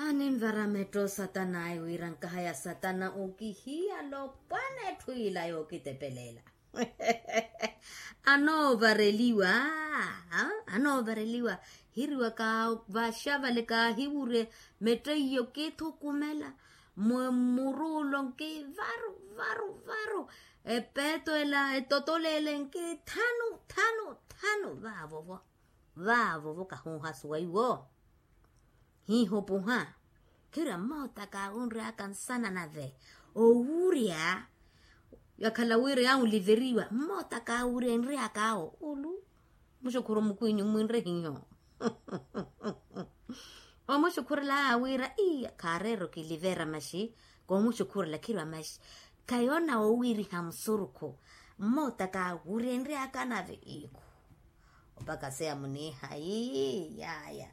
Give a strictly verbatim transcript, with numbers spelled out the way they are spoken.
Aninvara metto satana ayi wira nkahaya satana okihiyala opwana etthu ila yookitepelela. Anoovareliwa. Anoovareliwa. Hiriwaka vaxavale kaahiwurye. Metto iyo kithukumela. Mwe mmuruulo nkivaru varu varu. Epeeto ela etotolo ele nkithanu thanu thanu vaavovo. Vaavovo kahuuhasuwa iwo. Hiihupuha. Khira mmoota kaawunry'aka nsana nave owurya. Yakhala wira yaawuliveriwa mmoota kaawurya enry'aka awo ulu. Muxukhuru mukhwinyu mwinre hiyo. Omuxukhurela aawira iya khaareera okilivera maxi. Koomuxukhurela khirwa maxi. Khayoona oowiriha musurukhu. Mmoota kaawurya enry'aka nave ikhu. Opaka seya muniiha ii yaya.